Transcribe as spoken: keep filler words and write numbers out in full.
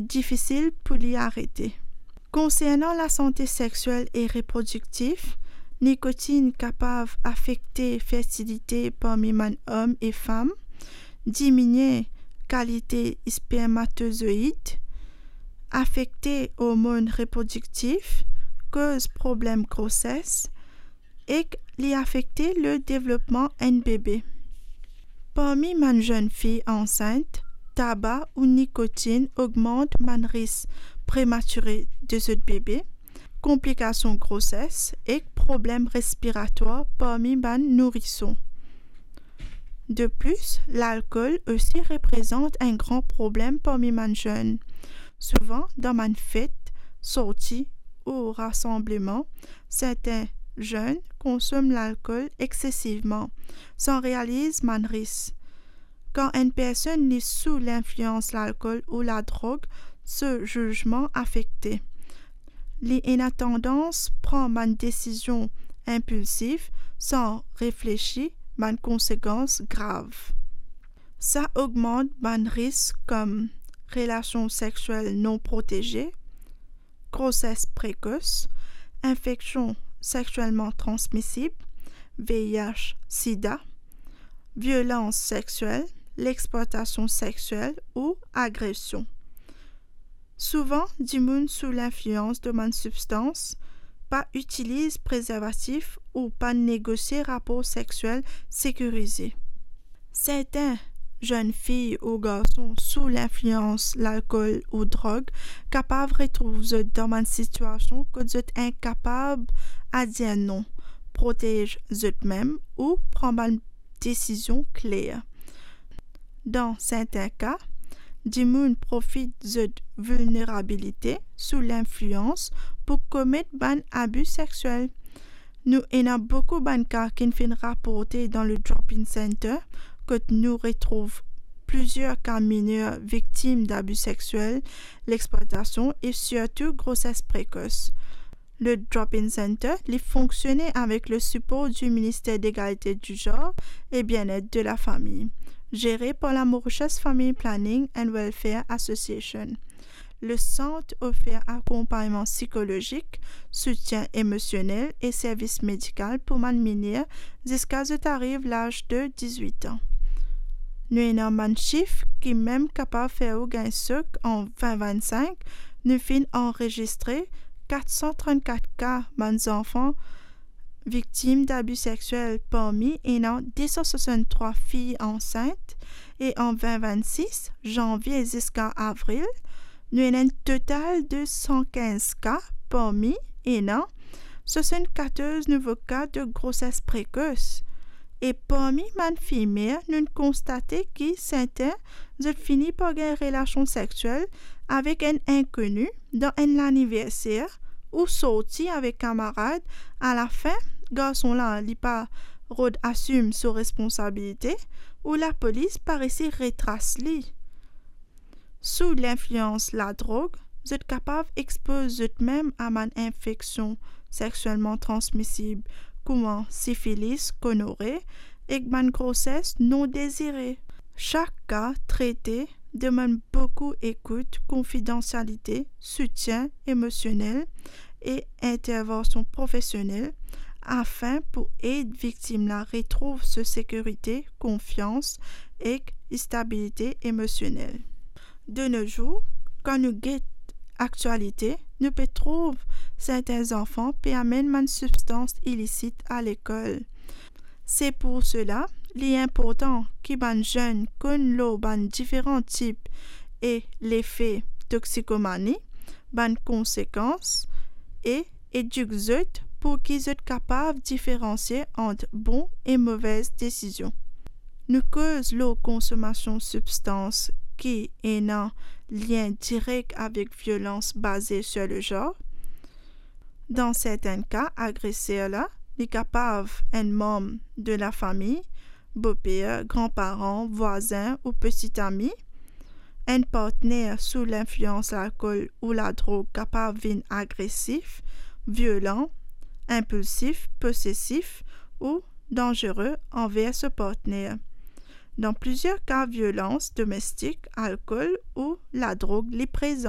difisil pou li arete. Konsernan lasante sexiel e reprodiktif, nikotinn kapav afekte fertilite parmi bann om e fam, diminie kalite spermatozoid, afekte ormonn reprodiktif, koz problem groses, ek li afekte le devlopman enn bebe. Parmi bann zenn fi ansint, taba ou nikotinn ogmant bann ris prematire de zot bebe, konplikasion groses ek problem respiratwar parmi bann nourison. De plis, lalkol osi reprezant enn gran problem parmi bann zenn. Souvan, dan bann fet, sorti ou rasanbleman, sertin zenn konsom lalkol eksesivman, san realiz bann ris. Kan enn personn li sou linflians lalkol ou ladrog, so zizman afekte. Li ena tandans pran bann desizion inpilsif san reflesi bann konsekans grav. Sa ogmant bann ris kom relasion sexiel non proteze, groses prekos, infeksion sexielman transmisib, V I H, sida, violans sexiel, lexplwatasion sexiel ou agresion. Souvan, dimoun sou linflians de bann sibstans pa itiliz prezervatif ou pa negosie rapor sexiel sekirize. Sertin zenn fi ou garson sou linflians lalkol ou drog kapav retrouv zot dan bann sitiasion kot zot inkapab dir non, protez zot mem ou pran bann desizion kler. Dan sertin ka, dimoun profit zot vilnerabilite sou linflians pou komet bann abi sexiel. Nou ena boukou bann ka ki finn raporte dan le Drop-In Center, kot nou retrouv plizier ka miner viktim dabi sexiel, lexplwatasion e sirtou groses prekos. Le Drop-In Center, li fonksione avek le sipor di Minister Legalite, di Zanr e Bienet de la Fami, gere par la Mauritius Family Planning and Welfare Association. Le sant ofer akonpagnman sikolozik, soutien emosionel e servis medikal pou bann miner ziska zot ariv laz de diz-wit an. Nou ena bann sif ki mem kapav fer ou gagn sok. An vin vinn-sink, nou finn anrezistre kat san trant-kat ka bann zanfan viktim dabi sexiel, parmi ena de san swasant-trwa fi ansint, e an vin vinn-sis, zanvie ziska avril, nou ena enn total de san kinz ka, parmi ena swasant-katorz nouvo ka de groses prekos. E parmi bann fimer, nou konstate ki sertin zot fini par gagn relasion sexiel avek enn inkoni dan enn laniverser, ou sorti avek kamarad, alafin garson la li pa rod asim so responsabilite, ou lapolis pa resi retras li. Sou linflians ladrog, zot kapav expoz zot mem a bann infeksion sexielman transmisib, kouma sifilis, gonore, ek bann groses non dezire. Sak ka trete demann boukou ekout, konfidansialite, soutien emosionel e intervansion profesionel, afin pou ed viktim la retrouv so sekirite, konfians ek stabilite emosionel. De no zour, kan nou get aktialite, nou pe trouv sertin zanfan pe amenn bann sibstans ilisit a lekol. Se pou sela, li inportan ki bann zenn konn lor bann diferan tip e lefe toksikomani, bann konsekans, e edik zot pou ki zot kapav diferansie ant bon e movez desizion. Nou koz lor konsomasion sibstans ki ena lien direk avek violans baze sir lezanr. Dan sertin ka, agreser la, li kapav enn manm de lafami, boper, granparan, vwazin ou peti ami. Enn partner sou linflians lalkol ou ladrog kapav vinn agresif, violan, inpilsif, posesif ou danzere anver so partner. Dan plizier ka violans domestik, lalkol ou ladrog li prezan.